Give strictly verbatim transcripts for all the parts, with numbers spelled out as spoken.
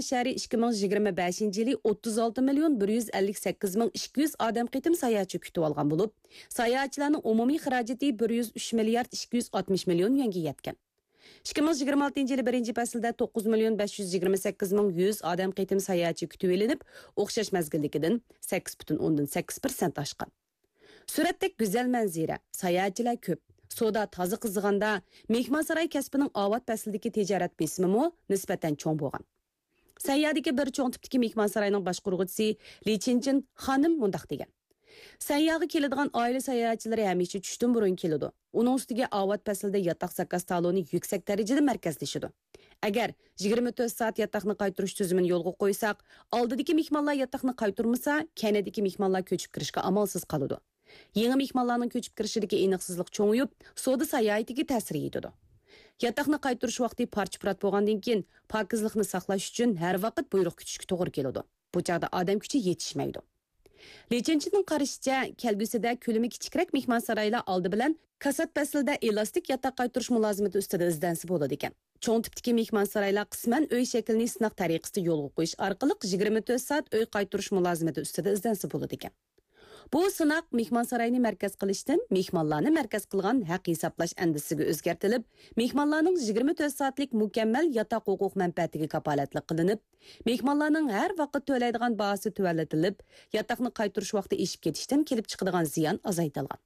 شەھىرى ئىككى مىڭ يىگىرمە بەشىنچى يىلى ئوتتۇز ئالتە مىليون بىر يۈز ئەللىك سەككىز مىڭ ئىككى يۈز ئادەم قېتىم ساياھەتچى كۈتۈۋالغان بولۇپ، ساياھەتچىلەرنىڭ ئومۇمىي خىراجىتى بىر يۈز ئۈچ مىليارد ئىككى يۈز ئاتمىش مىليون يۈەنگە يەتكەن. ئىككى مىڭ يىگىرمە ئالتىنچى يىلى بىرىنچى پەسىلدە توققۇز مىليون بەش يۈز يىگىرمە سەككىز مىڭ يۈز ئادەم قېتىم ساياھەتچى كۈتۈۋېلىنىپ، ئوخشاش مەزگىلدىكىدىن سەككىز پۈتۈن ئوندىن سەككىز پىرسەنت ئاشقان. سۈرەتتەك گۈزەل مەنزىرە، ساياھەتچىلەر كۆپ، سودا تازا قىزىغاندا، مېھمانساراي كەسپىنىڭ ئاۋات پەسلىدىكى تىجارەت بېسىمىمۇ نىسبەتەن چوڭ بولغان. سەنيادىكى بىر چوڭ تىپتىكى مېھمانساراينىڭ باشقۇرغۇچىسى لى چىنچىن خانىم مۇنداق دېگەن: سەنياغا كېلىدىغان ئائىلە ساياھەتچىلىرى ھەمىشە چۈشتىن بۇرۇن كېلىدۇ. ئۇنىڭ ئۈستىگە ئاۋات پەسلىدە ياتاق زاكاز تالونى يۈكسەك دەرىجىدە مەركەزلىشىدۇ. ئەگەر يىگىرمە تۆت سائەت ياتاقنى قايتۇرۇش تۈزۈمىنى يولغا قويساق، ئالدىدىكى مېھمانلار ياتاقنى قايتۇرمىسا، كەينىدىكى مېھمانلار كۆچۈپ كىرىشكە ئامالسىز قالىدۇ. يېڭى مېھمانلارنىڭ كۆچۈپ كىرىشىدىكى ئېنىقسىزلىق چوڭىيىپ، سودا ساياھىتىگە تەسىر يېتىدۇ. ياتاقنى قايتۇرۇش ۋاقتى پارچە-پۇرات بولغاندىن كېيىن، پاكىزلىقنى ساقلاش ئۈچۈن ھەر ۋاقىت بۇيرۇق كۈتۈشكە توغرا كېلىدۇ. بۇ چاغدا ئادەم كۈچى يېتىشمەيدۇ. لى چىنچىننىڭ قارىشىچە، كەلگۈسىدە كۆلىمى كىچىكرەك مېھمانسارايلار ئالدى بىلەن كاسات پەسلىدە ئېلاستىك ياتاق قايتۇرۇش مۇلازىمىتى ئۈستىدە ئىزدەنسە بولىدىكەن. چوڭ تىپتىكى مېھمانسارايلار قىسمەن ئۆي شەكلىنى سىناق تەرىقىسىدە يولغا قويۇش ئارقىلىق يىگىرمە تۆت سائەت ئۆي قايتۇرۇش مۇلازىمىتى ئۈستىدە ئىزدەنسە بولىدىكەن. بۇ سىناق مېھمانساراينى مەركەز قىلىشتىن مېھمانلارنى مەركەز قىلغان ھەق ھېسابلاش ئەندىزىسىگە ئۆزگەرتىلىپ، مېھمانلارنىڭ يىگىرمە تۆت سائەتلىك مۇكەممەل ياتاق ھوقۇق مەنپەئەتىگە كاپالەتلىك قىلىنىپ، مېھمانلارنىڭ ھەر ۋاقىت تۆلەيدىغان باھاسى تۆۋەنلىتىلىپ، ياتاقنى قايتۇرۇش ۋاقتى ئېشىپ كېتىشتىن كېلىپ چىقىدىغان زىيان ئازايتىلغان.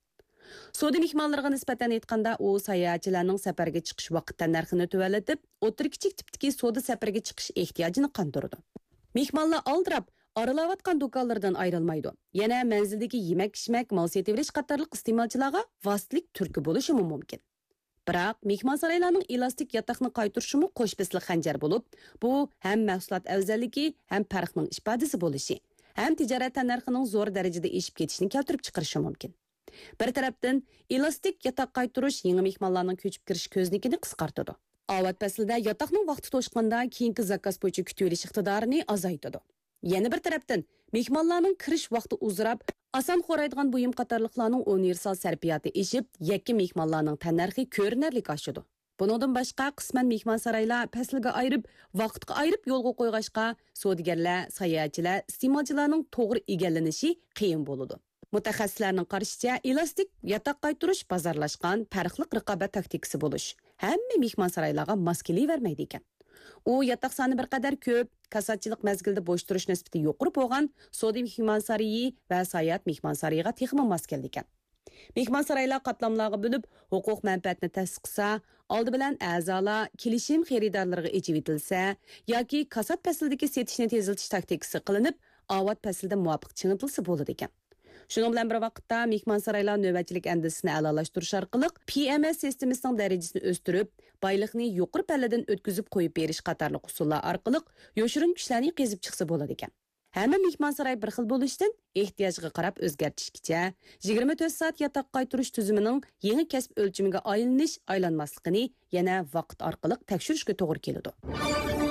سودا مېھمانلىرىغا نىسبەتەن ئېيتقاندا، ئۇ ساياھەتچىلەرنىڭ سەپەرگە چىقىش ۋاقىت تەننەرخىنى تۆۋەنلىتىپ، ئوتتۇرا كىچىك تىپتىكى سودا سەپىرىگە چىقىش ئېھتىياجىنى قاندۇرىدۇ. مېھمانلار ئالدىراپ، ئارىلاۋاتقان دۇكانلىرىدىن ئايرىلمايدۇ. يەنە مەنزىلدىكى يېمەك-ئىچمەك، مال سېتىۋېلىش قاتارلىق ئىستېمالچىلارغا ۋاسىتىلىك تۈرتكە بولۇشىمۇ مۇمكىن. بىراق، مېھمانسارايلارنىڭ ئېلاستىك ياتاقنى قايتۇرۇشىمۇ قوش پىستىلىق خەنجەر بولۇپ، بۇ ھەم مەھسۇلات ئەۋزەللىكى، ھەم پەرقنىڭ ئىپادىسى بولۇشى، ھەم تىجارەت تەننەرخىنىڭ زور دەرىجىدە ئېشىپ كېتىشىنى كەلتۈرۈپ چىقىرىشى مۇمكىن. بىر تەرەپتىن، ئېلاستىك ياتاق قايتۇرۇش يېڭى مېھمانلارنىڭ كۆچۈپ كىرىش كۆزنىكىنى قىسقارتىدۇ. ئاۋات پەسلىدە ياتاقنىڭ ۋاقتى توشقاندا، كېيىنكى زاكاز بويىچە كۈتۈۋېلىش ئىقتىدارىنى ئازايتىدۇ. يەنە بىر تەرەپتىن، مېھمانلارنىڭ كىرىش ۋاقتى ئۇزىراپ، ئاسان خورايدىغان بۇيۇم قاتارلىقلارنىڭ ئۇنىۋېرسال سەرپىياتى ئېشىپ، يەككە مېھمانلارنىڭ تەننەرخى كۆرۈنەرلىك ئاشىدۇ. بۇنىڭدىن باشقا، قىسمەن مېھمانسارايلار پەسىلگە ئايرىپ، ۋاقىتقا ئايرىپ يولغا قويغاچقا، سودىگەرلەر، ساياھەتچىلەر، ئىستېمالچىلارنىڭ توغرا ئىگىلىنىشى قىيىن بولىدۇ. مۇتەخەسسىسلەرنىڭ قارىشىچە، ئېلاستىك ياتاق قايتۇرۇش بازارلاشقان پەرقلىق رىقابەت تاكتىكىسى بولۇش، ھەممە مېھمانسارايلارغا ماس كېلىۋەرمەيدىكەن. ئۇ ياتاق سانى بىر قەدەر كۆپ، كاساتچىلىق مەزگىلىدە بوش تۇرۇش نىسبىتى يۇقىرى بولغان سودا مېھمانسارىيى ۋە ساياھەت مېھمانسارىيىغا تېخىمۇ ماس كېلىدىكەن. مېھمانسارايلار قاتلاملارغا بۆلۈپ، ھوقۇق مەنپەئەتنى تەستىقلىسا، ئالدى بىلەن ئەزالار كېلىشىم خېرىدارلىرىغا ئېچىۋېتىلسە ياكى كاسات پەسلىدىكى سېتىشنى تېزلىتىش تاكتىكىسى قىلىنىپ، ئاۋات پەسلىدە مۇۋاپىق چىڭىتىلسا بولىدىكەن. شۇنىڭ بىلەن بىر ۋاقىتتا، مېھمانسارايلار نۆۋەتچىلىك ئەندىزىسىنى ئەلالاشتۇرۇش ئارقىلىق، پى ئېم ئېس سىستېمىسىنىڭ دەرىجىسىنى ئۆستۈرۈپ، بايلىقنى يۇقىرى پەللىدىن ئۆتكۈزۈپ قويۇپ بېرىش قاتارلىق ئۇسۇللار ئارقىلىق يوشۇرۇن كۈچلەرنى قېزىپ چىقسا بولىدىكەن. ھەممە مېھمانساراي بىر خىل بولۇشتىن، ئېھتىياجغا قاراپ ئۆزگەرتىشكىچە، يىگىرمە تۆت سائەت ياتاق قايتۇرۇش تۈزۈمىنىڭ يېڭى كەسىپ ئۆلچىمىگە ئايلىنىش، ئايلانماسلىقىنى يەنە ۋاقىت ئارقىلىق تەكشۈرۈشكە توغرا كېلىدۇ.